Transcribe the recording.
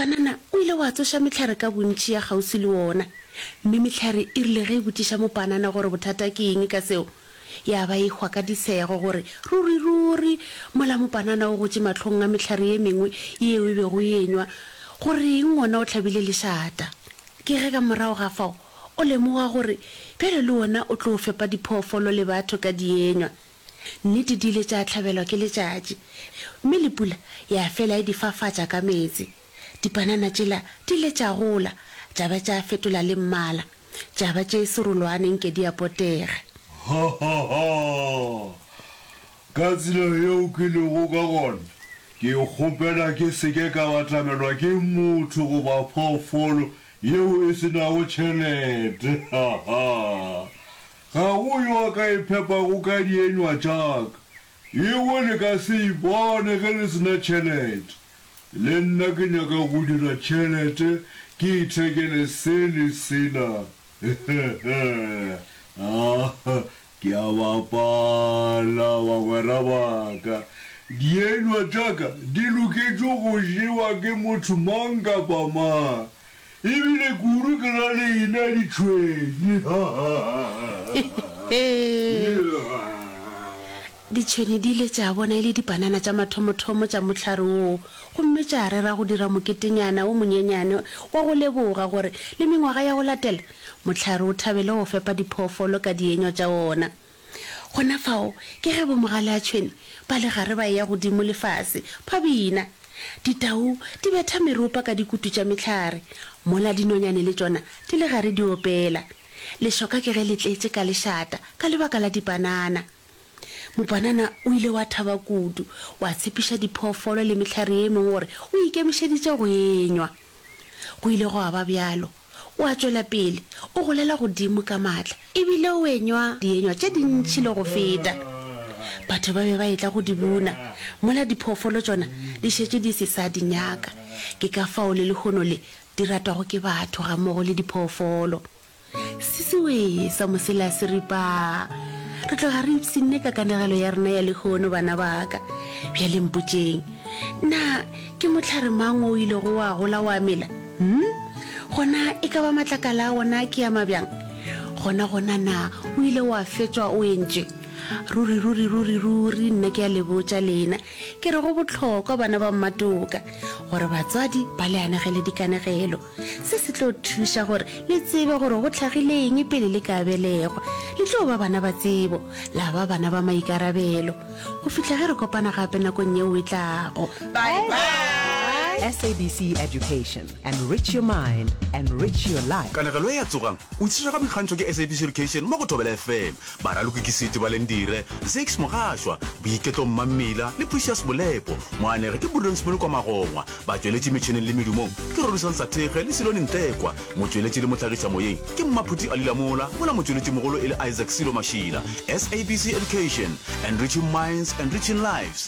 Mopanana o ile wa tsoša mehlare ka bontši ya kgauswi le wona. Mme mehlare e rile ge e botšiša mopanana gore bothata ke eng ka seo, ya ba e hwa ka disego gore ruri-ruri mola mopanana o gotše mahlong a mehlare ye mengwe yeo e bego e enywa, go reng wona o hlabile lešata. Ke ge ka morago ga fao o lemoga gore bjale le wona o tlo fepa diphoofolo le batho ka dienywa. Nnete di ile tša hlabelwa ke letšatši, mme le pula ya fela e di fafatša ka meetse. Dipanana tšela di ile tša gola, tša ba tša fetola le mmala, tša ba tše serolwane nke di a potega. Ha ha ha! Ka tsela yeo ke lego ka gona, ke kgopela ke se ke ka batamelwa ke motho goba phoofolo yeo e se nago tšhelete. Ha ha! Ga go yo a ka iphepago ka dienywa tša ka. Yeo le ka se e bone ge le se na tšhelete. Le nna ke nyaka go dira tšhelete ke ithekele se le sela. Ah, ke a bapala, bagwera ba ka. Dienywa tša ka di loketše go jewa ke motho mang kapa mang. E bile kudu ke ra lena ditšhwene. Ditšhwene di ile tša bona e le dipanana tša mathomothomo tša mohlare woo gomme tša rera go dira moketenyana o monyenyane wa go leboga gore le mengwaga ya go latela mohlare o thabele go fepa diphoofolo ka dienywa tša wona. Gona fao ke ge bomogaleatšhwene ba le gare ba eya godimo le fase ba bina. Ditau di betha meropa ka dikutu tša mehlare, mola dinonyane le tšona di le gare di opela. Lešoka ke ge le tletše ka lešata ka lebaka la dipanana. Mopanana o ile wa thaba kudu, wa tshepiša diphoofolo le mehlare ye mengwe gore o ikemišeditše go enywa. Go ile gwa ba bjalo. O a tšwela pele o golela godimo ka matla e bile o enywa dienywa tše dintši le go feta. Batho ba be ba etla go di buna, mola diphoofolo tšona di šetše di se sa di nyaka. Ke ka fao le lehono le di ratwago ke batho gammogo le diphoofolo. Sisiwee sa mosela seripa! Re tloga re ipshinne ka kanegelo ya rena ya lehono, bana ba ka. Bjale mpotšeng, na ke mohlare mang wo o ilego wa gola wa mela? Hm? Gona e ka ba matlakala a wona ke a mabjang? Gona gona na o ile wa fetšwa o entšwe? Ruri, ruri, ruri, ruri, nna ke a le botša lena, ke re go bohlokwa, bana ba mmatoka, gore batswadi ba le anegele dikanegelo. Se se tlo thuša gore le tsebe gore go hlagile eng pele le ka belegwa. Le tlo ba bana ba tsebo, la ba bana ba maikarabelo. Go fihla ge re kopana gape nakong yeo e tlago. Bye bye. SABC Education, enrich your mind, enrich your life. Kanegelo ye ya Tsogang! O tlišwa ka boikgantšho ke SABC Education mo go Thobela FM. Baraloki ke Siti Balendire, Zakes Mogašwa, Boiketlo Mmammila le Precious Molepo. Moanegi ke Prudence Molokwa Magongwa. Batšweletši metšheneng le medumong ke Rorisang Sathekge le Silone Ntlekwa. Motšweletši le mohlagišamoyeng ke Mmaphuti Ali Lamola, mola motšweletšimogolo e le Isaac Silo Mašila. SABC Education, enriching minds, enriching lives.